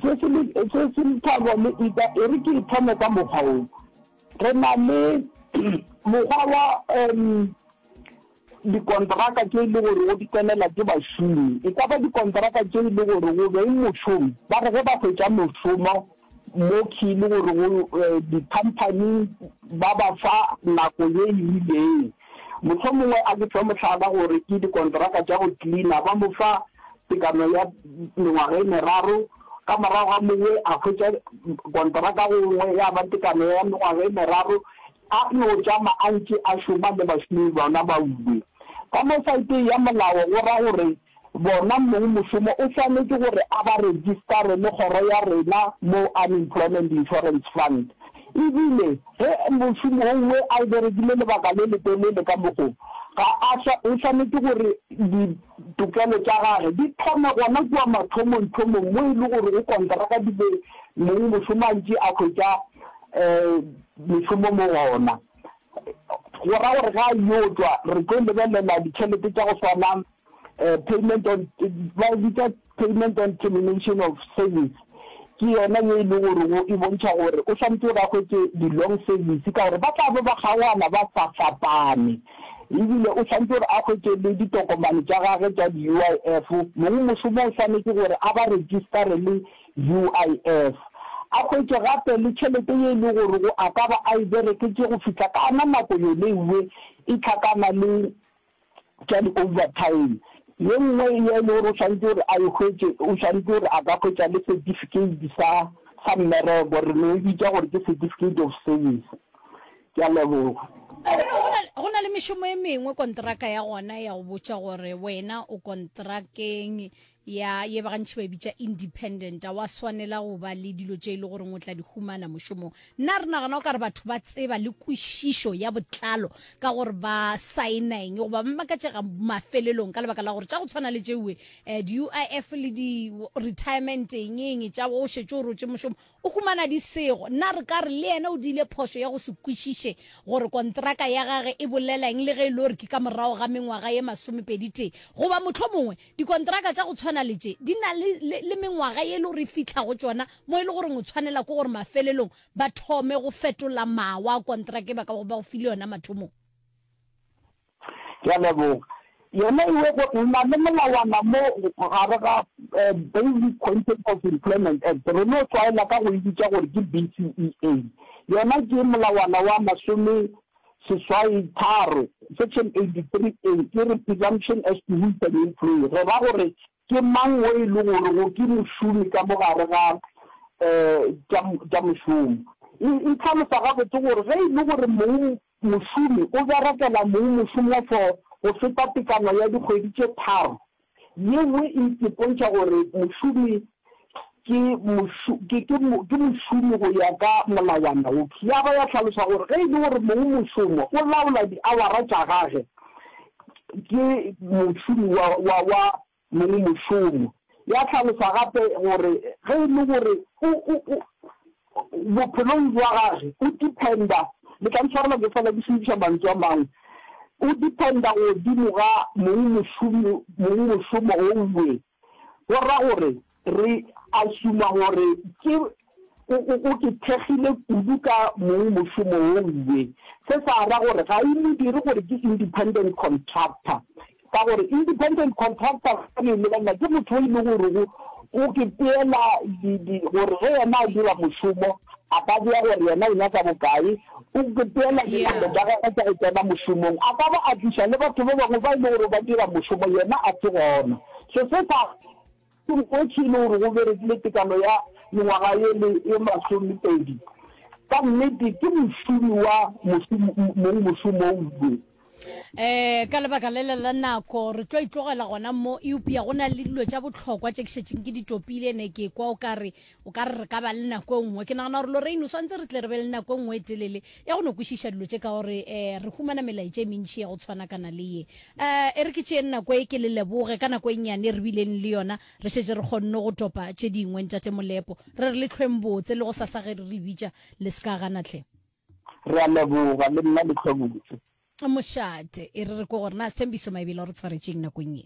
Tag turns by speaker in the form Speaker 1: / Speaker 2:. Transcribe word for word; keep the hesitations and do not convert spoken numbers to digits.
Speaker 1: Se se le se se Lethabo le Ida, e re ke e thome ka mokgwa wo. Re na le mokgwa wa um dikontraka tše e le gore go di tsenela ke bašomi. E ka ba dikontraka tše e le gore go beng mošomo, ba re ge ba hwetša mošomo mo ke e le gore go di-company ba ba fa nako ye e rileng. Mohlomongwe a ke fe mohlala gore ke dikontraka tša go cleaner, ba mo fa tekano ya mengwaga e meraro, ka morago ga mowe a hwetša kontraka gongwe ya ba tekano ya mengwaga e meraro, a no tšama a ntše a šoma le bašomi bona ba uwe. Ka mo saeteng ya molao go ra gore bona mong mošomo o swanetše gore a ba registare le kgoro ya rena mo Unemployment Insurance Fund. Ebile ge mošomo ouwe a berekile lebaka le letelele ka mokgo, ga a o swanetše gore ditokelo tša gage di thome gona kua mathomong-thomong mo e le gore go kontraka di be mong mošomo a ntše a hwetša um mešomo mo gona. Go ra gore ga a yo tšwa re tlo lebelela ditšhelete tša go swana payment on ba bitša payment on termination of service, ke yona ye e le gore go e bontšha gore o swanetše gore a hwetše di-long service ka gore ba tla be ba kgaogana ba sa fapane. Ebile o swanetše gore a hwetše le ditokomane tša gage tša di-U I F, mong mošomo o swanetše gore a ba registare le U I F. A hwetše gape le tšhelete ye e le gore go a ka ba a e bereketše go fihla ka ana nako yone ewe e tlhakana le tša di-overtime. Ye nngwe ye e le gore o swanetše gore a e hwetše, o swanetše gore a ka hwetša le certificate sa sa mmereko, re no e bitša gore ke certificate of service. Ke a leboga.
Speaker 2: Go na le mešomo e mengwe kontraka ya gona ya go botša gore wena o kontrakeng ya ye ba gantši ba e bitša independent, a wa swanela go ba le dilo tše e le goreng o tla di humana mošomong. Nna re nagana o ka re batho ba tseba le kwešišo ya botlalo ka gore ba saena eng, goba ba makatšega mafelelong ka lebaka la gore tša go tshwana le tšeue um di-U I F le di-retirement eng eng tša o šetše o rotše mošomo o humana di sego. Nna re ka re le yena o diile phošo ya go se kwešiše gore kontraka ya gage e bolela eng, le ge e le gore ke ka morago ga mengwaga ye masomepedi tee, goba mohlomongwe dikontraka tša go tshwana le tše di na le, le, le mengwaga ye e le gore e fihla go tšona mo e le goreng o tshwanela ke gore mafelelong ba thome go fetola mawa a kontraka e ba ka go ba go file yona mathomong.
Speaker 1: Ke a leboga. Yona ewe go na le molawana mo gare ga Basic Conditions of Employment Act, re no tlwaela ka go e bitša gore ke B C E A. Yona ke molawana wa masome seswai tharo, section eighty-three A, ke re presumption as to who is an employee. Re ra gore ke mang o e le gore go ke mošomi ka mo gare ga um tša mošomo. E e tlhalosa gabotse gore ge e le gore mong mošomi o berekela mong mošomo for go feta tekano ya dikgwedi tše tharo, ye nngwe e ipontšha gore mošomi ke ke ke ke mošomi go ya ka molawana wo. Ya ba ya hlalosa gore ge e le gore mong mošomo o laola diawara tša gage, ke mošomi wa wa wa mong mošomo. Ya hlalosa gape gore ge e le gore o o o bophelong bja gage o dependa, le tla ntshwarela ke fela ke šomiša mantswe a mangwe, o dependa godimo ga mong mošomo mong mošomo ouwe, go ra gore re assume gore ke o o ke thekgile kudu ka mong mošomo ouwe. Se sa ra gore ga e mo dire gore ke independent contractor, ka gore independent contractor ka le lebelela ke motho o e le gore go o ke peela gore ge yena a dira mošomo a ka bea gore yena o nyaka bokae, o ke peela dinako tša gagwe tša go tsena mošomong, a ka ba a tliša le batho ba bangwe ba e le gore ba dira mošomo yena a se gona. So se sa e le gore go berekile tekano ya mengwaga ye le ye masomepedi, ka nnete ke mošomi wa mong mošomo ouwe.
Speaker 2: Eh ka lebaka le le la nako re tlo itlogela gona mo, eupša go na le dilo tša bohlokwa tše ke šetšeng ke di topile, ne ke kwa o ka re o ka re re ka ba le nako e nngwe. Ke nagana gore Lorraine o swantse re tle re be le nako e nngwe e telele ya go no kwešiša dilo tše, ka gore eh re humana melaetša e mentši ya go tshwanakana le ye. Eh e re ke tšeeng nako e ke le leboge ka nako e nnyane re bileng le yona, re šetše re kgonne go topa tše dingwe. Ntate Molepo, re re le tlhweng botse le go sasa ge re le bitša le se ka gana tlhe.
Speaker 1: Re a leboga le nna le tlhwe botse.
Speaker 2: Mošate e re re ko gore na Sthembiso Maebela o re tshwaretšeng nakong ye.